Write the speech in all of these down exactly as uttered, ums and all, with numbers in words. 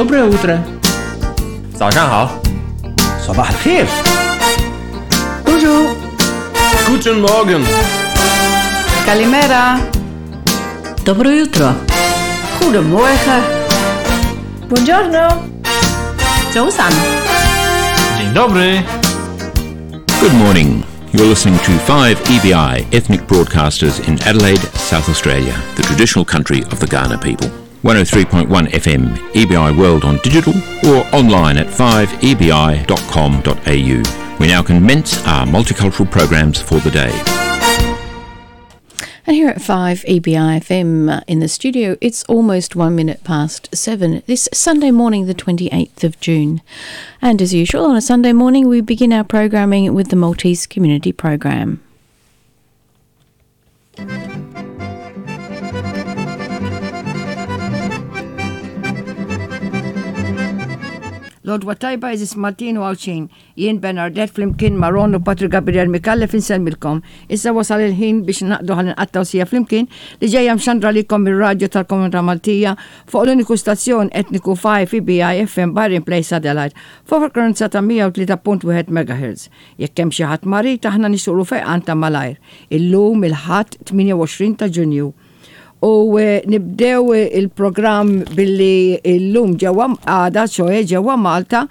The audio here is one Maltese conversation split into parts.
Доброе утро. 早上好。 صباح الخير. Bonjour. Guten Morgen. Καλημέρα. Dobro jutro. Goedemorgen. Buongiorno. 早晨。 Dzień dobry. Good morning. You're listening to five E B I Ethnic Broadcasters in Adelaide, South Australia, the traditional country of the Kaurna people. one oh three point one F M, E B I World on digital or online at five E B I dot com dot A U. We now commence our multicultural programs for the day. And here at five E B I F M uh, in the studio, it's almost one minute past seven this Sunday morning, the twenty-eighth of June. And as usual, on a Sunday morning, we begin our programming with the Maltese Community Program. L-għodwa t-tajba, għeżież Maltin u Għawdxin, jien Bernadette flimkien ma' Ron u Patrick Gabriel Micallef insellmilkom. Issa wasal il-ħin biex naqdu ħalli nqattgħu siegħa flimkien li ġejja mxandra lilkom mir-radju tal-Komunità Maltija fuq l-uniku stazzjon etniku five E B I F M Byron Place, Adelaide, fuq frekwenza ta' mija u tlieta punt wieħed megahertz. Jekk hemm xi ħadd marid, aħna nixtiequlu fejqan ta' malajr. Illum il-Ħadd tmienja u għoxrin ta' Ġunju. U eh, nibdew il-programm billi illum ġewwa għada, ċoè ġewwa Malta,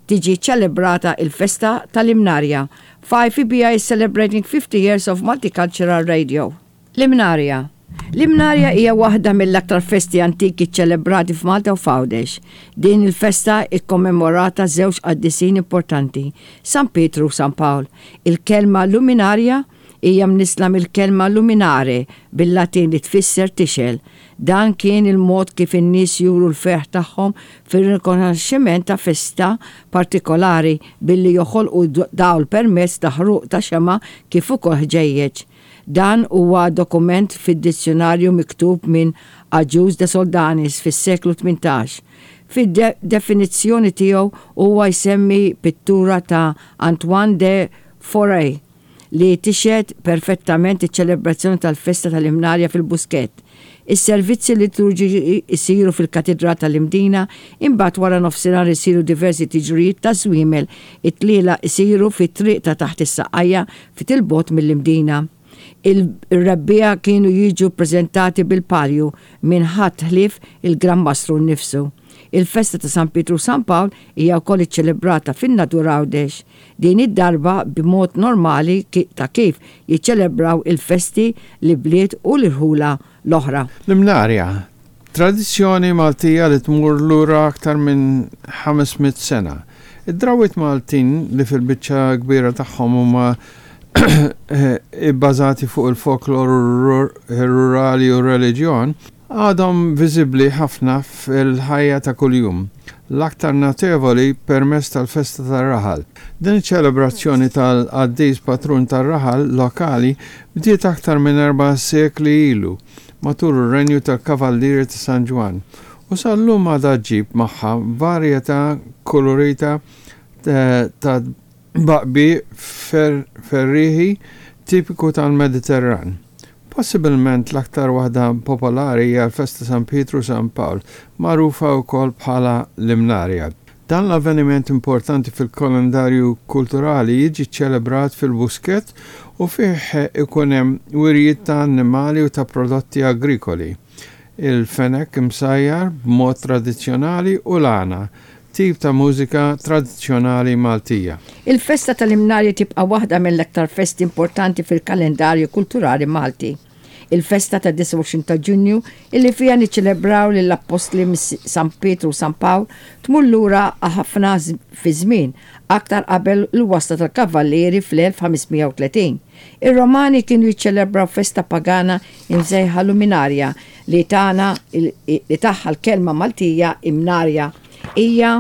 tiġi ċelebrata il-festa tal-Imnarja. five E B I is celebrating fifty years of multicultural radio. L-Imnarja. L-Imnarja hija waħda mill-aktar festi antiki ċelebrati f'Malta u f'Għawdex. Din il-festa ikkommemorata żewġ qaddisin importanti, San Pietru u San Pawl. Il-kelma luminarja hija mnisla mill-kelma luminare bil-Latin li tfisser tixgħel. Dan kien il-mod kif in-nies juru l-ferħ tagħhom fir-rikonoxximent ta' festa partikolari billi joħolqu dawl permezz ta' ħruq ta' xema kif ukoll ħġejjeġ. Dan huwa dokumentat fid-dizzjonarju miktub minn Agius de Soldanis fis-seklu tmintax. Fid-definizzjoni tiegħu huwa jsemmi pittura ta' Antoine de Foret li tixhed perfettament iċ-ċelebrazzjoni tal-festa tal-Imnarja fil-Buskett. Is-servizzi liturġiċi isiru fil-Katedral tal-Imdina, imbagħad wara nofsinhar isiru diversi tiġrijiet ta' żwiemel, it-tlielaq isiru fit-triq ta' taħt is-Saqqajja ftit 'il bogħod mill-Imdina. Il-rebbieħa kienu jiġu prezentati bil-palju minn ħadd ħlief il-Gran Mastru nnifsu. Il-festa ta' San Pietru San Pawl hija wkoll iċċelebrata fin-Nadur, Għawdex. Din id-darba b'mod normali ta' kif jiċċelebraw il-festi l-ibliet u l-irħula l-oħra. L-Imnarja, tradizzjoni Maltija li tmur lura aktar minn ħames mitt sena. Id-drawwiet Maltin, li fil-biċċa kbira tagħhom huma ibbażati fuq il-folklor rurali u reliġjon, għadhom viżibbli ħafna fil-ħajja ta' kuljum, l-aktar notevoli permezz tal-festa tar-raħal. Din iċ-ċelebrazzjoni tal-qaddis patrun tar-raħal lokali bdiet aktar minn erba' sekli ilu matul ir-renju tal-Kavallieri ta' San Ġwann u sal-lum għadha ġġib magħha varjetà kolorita ta' tbaqbiq ferriħi tipiku tal-Mediterran. Possibilment l-aktar waħda popolari hija l-festa San Pietru San Pawl, magħrufa wkoll bħala l-Imnarja. Dan l-avveniment importanti fil-kalendarju kulturali jiġi ċelebrat fil-Buskett u fih ikun hemm wirjiet ta' annimali u ta' prodotti agrikoli. Il-fenek imsajjar b'mod tradizzjonali u l-għana, tip ta' mużika tradizzjonali Maltija. Il-festa tal-Imnarja tibqa' waħda mill-aktar festi importanti fil-kalendarju kulturali Malti. Il-festa ta' disgħa u għoxrin ta' Ġunju, illi fija niċċelebraw lill-appostli San Pietru u San Pawl, tmur lura ħafna fi żmien aktar qabel l-wasla tal-Kavallieri fl-elf ħames mija u tletin. Ir-Romani kienu jiċċelebraw festa pagana imsejħa Luminarja li tana li tagħha l-kelma Maltija Imnarja. Hija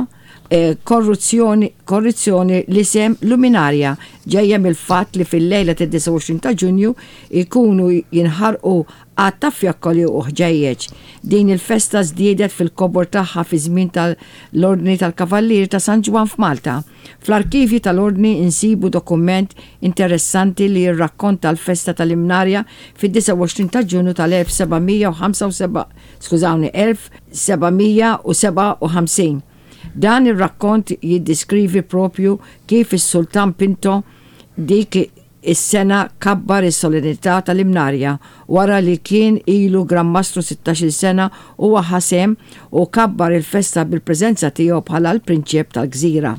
korruzzjoni korruzzjoni l-isem Luminarja ġejja mill-fatt li fil-lejla tad-disgħa u għoxrin ta' Ġunju ikunu jinħarqu għadd ta' fjakkoli u ħġejjeġ. Din il-festa żdiedet fil-kobor tagħha fi żmien tal-Ordni tal-Kavallieri ta' San Ġwann f'Malta. Fl-arkivji tal-Ordni insibu dokument interessanti li jirrakkonta l-festa tal-Imnarja fid-disgħa u għoxrin ta' Ġunju tal-elf seba' mija u ħamsa u seba', skużawni, elf seba' mija u sebgħa u ħamsin. Dan ir-rakkont jiddeskrivi propju kif is-Sultan Pinto dik is-sena kabbar is-solennità tal-Imnarja wara li kien ilu Gran Mastru sittax-il sena huwa ħa sehem u kabbar il-festa bil-preżenza tiegħu bħala l-prinċep tal-gżira.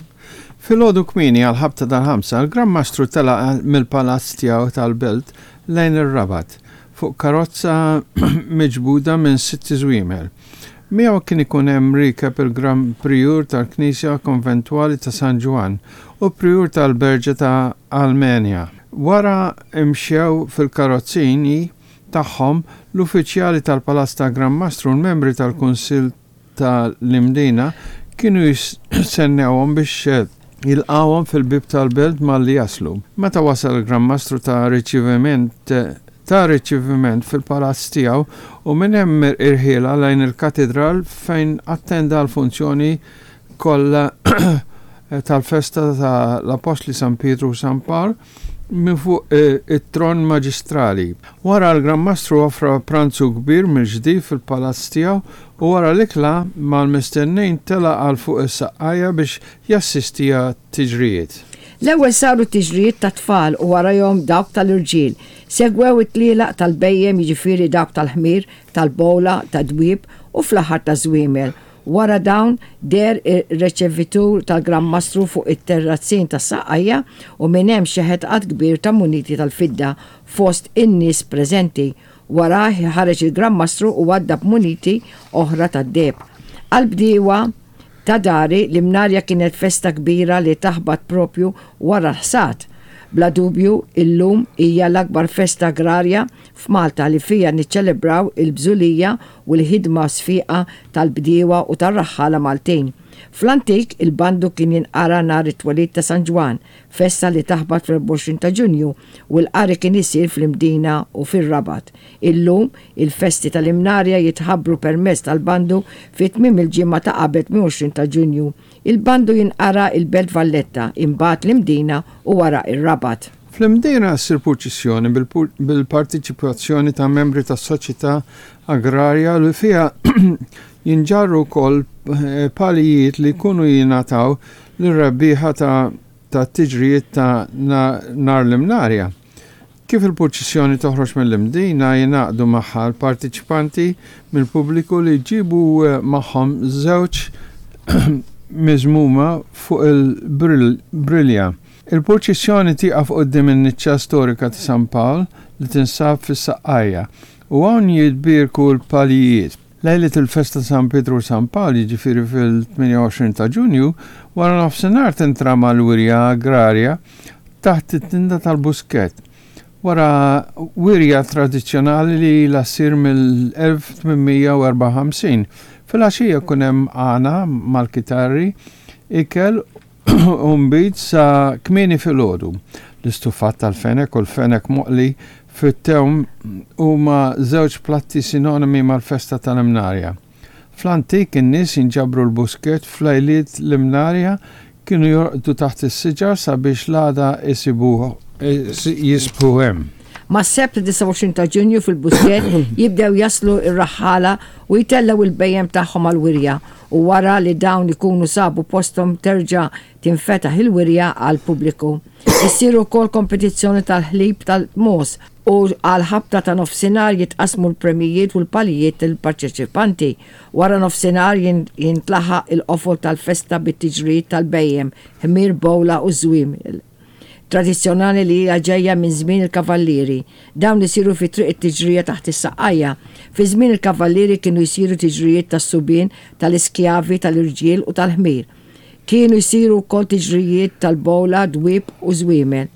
Filgħodu kmieni għal ħabta tal-ħamsa, il-Gran Mastru telaq mill-palazz tiegħu tal-belt lejn ir-Rabat fuq karozza miġbuda minn sitt żwiemel. Miegħu kien ikun hemm riekeb il-Gran Prijur tal-Knisja Konventwali ta' San Ġwann u Prijur tal-Berġa ta' Almenja. Wara imxew fil-karozzini tagħhom l-uffiċjali tal-Palazz ta' Gran Mastru u l-membri tal-Kunsill tal-Imdina kienu jistennewhom biex jilqawhom fil-bib tal-belt malli jaslu. Meta wasal il-Gran Mastru ta' riċeviment ta' riċeviment fil-palazz tiegħu u minn hemm irħiela lejn il-katedral fejn attenda l-funzjoni kollha tal-festa tal-Apostli San Pietru u San Pawl minn fuq it-tron maġistrali. Wara l-Gran Mastru offra pranzu kbir mill-ġdid fil-palazz tiegħu u wara l-ikla mal-mistednin tela' għal fuq is-saqqajja biex jassisti għat-tiġrijiet. L-ewwel saru tiġrijiet ta' tfal u warahom dawk tal-irġiel. Segwew it-tlielaq tal-bhejjem, jiġifieri dawk tal-ħmir, tal-bowla, tad-dwieb u fl-aħħar ta' żwiemel. Wara dawn deher ir-reċevitur tal-Gran Mastru fuq it-terrazzin tas-Saqqajja u minn hemm xeħet għadd kbir ta' muniti tal-fidda fost in-nies preżenti. Wara ħareġ il-Gran Mastru u għadda b'muniti oħra tad-deheb. Għall-bdiewa ta' dari l-Imnarja kienet festa kbira li taħbat propju wara l-ħsad. Bla dubju illum hija l-akbar festa agrarja f'Malta li fija niċċelebraw il-bżulija u l-ħidma sfiqa tal-bdiewa u tar-raħħala Maltin. Fl-antik il-bandu kien jinqara nhar it-twelid ta' San Ġwann, festa li taħbat fl-erbgħa u għoxrin ta' Ġunju u l-qari kien isir fl-Imdina u fir-Rabat. Illum il-festi tal-Imnarja jitħabbru permezz tal-bandu fi tmiem il-ġimgħa ta' qabel tmien u għoxrin ta' Ġunju. Il-bandu jinqara il-Belt Valletta, imbagħad l-Imdina u wara ir-Rabat. Fl-Imdina ssir purċissjoni bil-partiċipazzjoni ta' membri tas-soċjetà agrarja li fiha jinġarru wkoll palijiet li jkunu jingħataw lir-rebbieħa ta' tiġrijiet ta' nhar l-Imnarja. Kif il-purċissjoni toħroġ mill-Imdina jingħaqdu magħha l-partiċipanti mill-pubbliku li jġibu magħhom żewġ miżmuma fuq il-brilja. Il-purċissjoni tieqaf quddiem in-niċċa storika ta' San Pawl li tinsab fis-Saqqajja u hawn jitbierku l-palijiet. Lejlet il-festa San Pietru u San Pawl, jiġifieri fil-tmienja u għoxrin ta' Ġunju, wara nofsinhar tintrama l-wirja agrarja taħt it-tinda tal-Buskett. Wara wirja tradizzjonali li ilha ssir mill-elf tmien mija u erbgħa u ħamsin. Filgħaxija jkun hemm għana mal-kitarri, ikel u nbid sa kmieni filgħodu. L-istufat tal-fenek u l-fenek moqli fit-tewm huma żewġ platti sinonimi mal-festa tal-Imnarja. Fl-antik in-nies jinġabru l-Buskett f'lejliet l-Imnarja kienu jorqdu taħt is-siġar sabiex l-għada jisibuh jisbħu hemm. Mas-Sebt disgħa u għoxrin ta' Ġunju fil-Buskett jibdew jaslu ir-raħħala u jtellgħu il-bhejjem tagħhom għal-wirja u wara li dawn ikunu sabu posthom terġa' tinfetaħ il-wirja għall-pubbliku. Issir ukoll kompetizzjoni tal-ħlib tal-mogħoż u għal ħabta ta' nofsinhar jitqasmu l-premijiet u l-palijiet lill-parteċipanti. Wara nofsinhar jintlaħaq il-qofol tal-festa bit-tiġrijiet tal-bhejjem, ħmir, bowla u żwiemel tradizzjonali li hija ġejja minn żmien il-kavallieri. Dawn isiru fi triq it-tiġrija taħt is-Saqqajja. Fi żmien il-kavallieri kienu jsiru tiġrijiet tas-subien, tal-iskjavi, tal-irġiel u tal-ħmir. Kienu jsiru wkoll tiġrijiet tal-bowla, dwieb u żwiemel.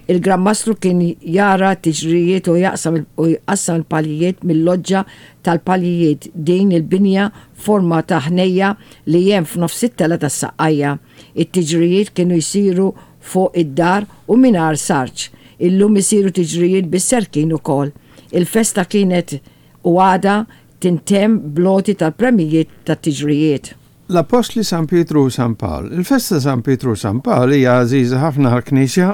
Il-Gran Mastru kien jara tiġrijiet u jaqsam u jqassam il-palijiet mill-loġġa tal-palijiet, din il-binja forma ta' ħnejja li hemm f'nofs it-tela tas-Saqqajja. It-tiġrijiet kienu jsiru fuq id-dar u mingħajr sarġ. Illum isiru tiġrijiet bis-serkin ukoll. Il-festa kienet u għada tintemm bl-għoti tal-premijiet tat-tiġrijiet. L-Apostli San Pietru u San Pawl. Il-festa San Pietru u San Pawl hija għażiża ħafna għall-Knisja,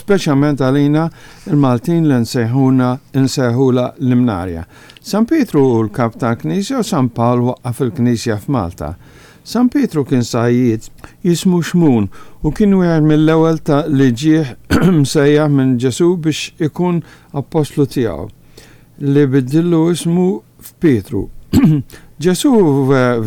speċjalment għalina il-Maltin li nsejħuna nsejħula l-Imnarja. San Pietru hu l-kap tal-Knisja u San Pawl waqqaf il-Knisja f'Malta. San Pietru kien sajjied jismu Xmun u kien wieħed mill-ewwel ta' li ġie msejjaħ minn Ġesu biex ikun appostlu tiegħu li biddillu ismu f'Pietru. Ġesu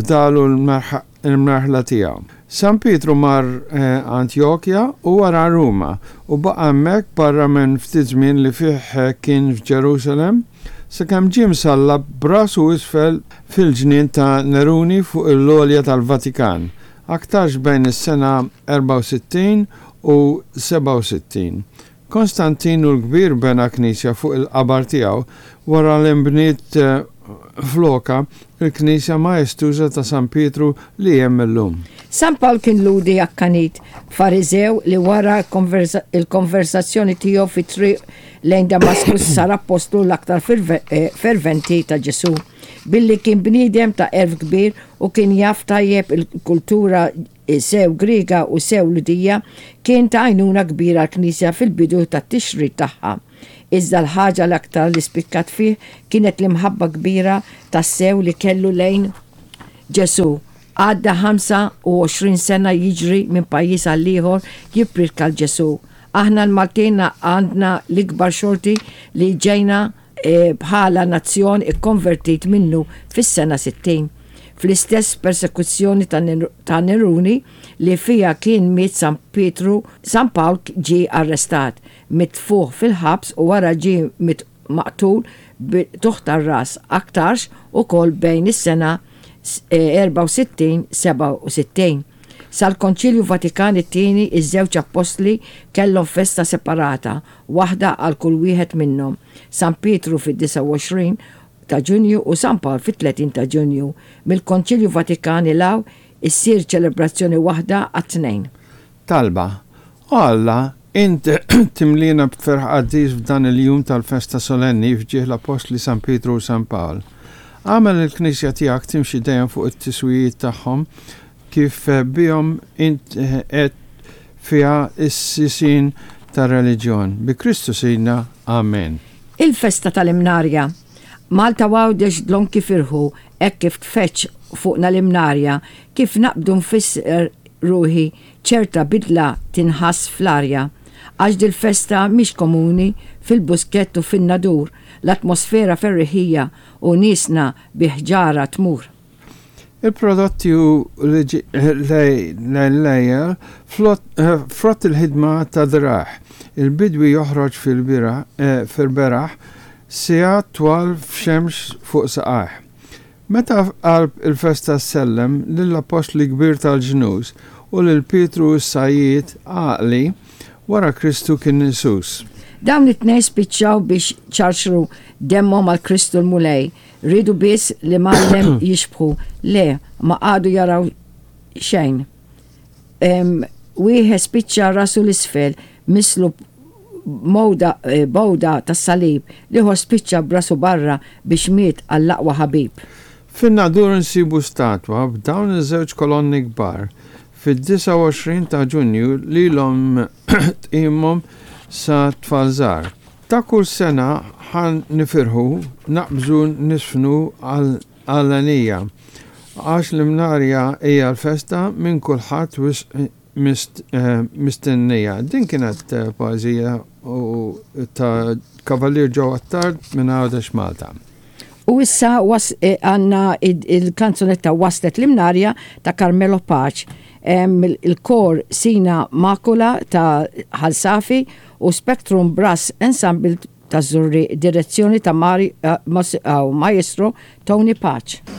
fdalu l-merħla tiegħu. San Pietru mar eh, Antjokja u wara Ruma u baqa' hemmhekk barra minn ftit żmien li fih eh, kien f'Ġerusalem sakemm ġie msallab b'rasu isfel fil-ġnien ta' Neruni fuq l-għolja tal-Vatikan, aktarx bejn is-sena erbgħa u sittin u sebgħa u sittin. Konstantinu l-Kbir bena knisja fuq il-qabar tiegħu wara li nbniet eh, floka il-knisja maestuża ta' San Pietru li hemm illum. San Pawl kien Lhudi akkanit, Fariżew li wara il-konversazzjoni tiegħu fi triq lejn Damaskus sar appostlu l-aktar eh, ferventi ta' Ġesu. Billi kien bniedem ta' għerf kbir u kien jaf tajjeb il-kultura sew Griega u sew Lhudija, kien ta' għajnuna kbira l-Knisja fil-bidu tat-tixrid tagħha. Iżda l-ħaġa l-aktar li spikkat fih kienet l-imħabba kbira tas-sew li kellu lejn Ġesu. Għadda ħamsa u għoxrin sena jiġri minn pajjiż għal ieħor jippriedka 'l Ġesu. Aħna l-Maltin għandna l-ikbar xorti li ġejna e, bħala nazzjon ikkonvertit minnu fis-sena sittin. Fl-istess persekuzzjoni ta' Neruni li fija kien miet San Pietru, San Pawl ġie arrestat, mitfugħ fil-ħabs u wara ġie maqtul b'qtugħ tar-ras, aktarx ukoll bejn is-sena erbgħa u sittin sebgħa u sittin. Sal-Konċilju Vatikan it-tieni, iż-żewġ appostli kellhom festa separata, waħda għal kull wieħed minnhom. San Pietru fid-disgħa u għoxrin ta' Ġunju u San Pawl fit-tletin ta' Ġunju. Mill-Konċilju Vatikan 'l hawn issir ċelebrazzjoni waħda għat-tnejn. Talba. O Alla, int timlina b'ferħ qaddis f'dan il-jum tal-festa solenni f'ġieħ l-Apostli San Pietru u San Pawl. Agħmel il-Knisja tiegħek timxi dejjem fuq it-tiswijiet tagħhom kif bihom int qed fiha is-sisin tar-reliġjon. Bi Kristu Sidna. Amen. Il-festa tal-Imnarja. Malta Għawdex dlonk firħu hekk kif tfeġġ fuqna l-Imnarja, kif naqbdu nfisser ruħi, ċerta bidla tinħass fl-arja. Għax dil-festa mhix komuni, fil-Buskett u fin-Nadur, l-atmosfera ferriħija u niesna bi ħġarha tmur. Il-prodotti u l-lejjel frott il-ħidma ta' driegħ. Il-bidwi joħroġ fil-beraħ sigħat twal f'xemx fuq saqajh. Meta qalb il-festa sellem lill-apostli kbir tal-ġnus u lil Pietru s-sajjied għaqli wara Kristu kien Isus. Dawn it-tnejn spiċċaw biex ċarċru demmhom għal Kristu l-Mulej. Riedu biss lill-Mgħallem jixbħu. Le, ma qagħdu jaraw xejn. Wieħed spiċċa rasu 'l isfel, mislub mowda, eh, b'għuda tas-salib, l-ieħor spiċċa b'rasu barra biex miet għall-aqwa ħabib. Fin-Nadur nsibu statwa b'dawn iż-żewġ kolonni kbar. Fid-disgħa u għoxrin ta' Ġunju lilhom tqimhom sa tfal żgħar. Ta' kull sena ħa nifirħu, naqbżu, niżfnu għal-għanija. Għax l-Imnarja hija l-festa minn kulħadd wisq mistennija. Din kienet eh, poezija u ta' Kavalier Joe Attard minn Għawdex, Malta. U issa was eh, għandna il-kanzunetta Waslet l-Imnarja ta' Carmelo Pace. Il-kor Sina Makula ta' Ħal Safi u Spectrum Brass Ensemble ta' Żurrieq, direzzjoni ta' Mari, uh, Maestro Tony Pace.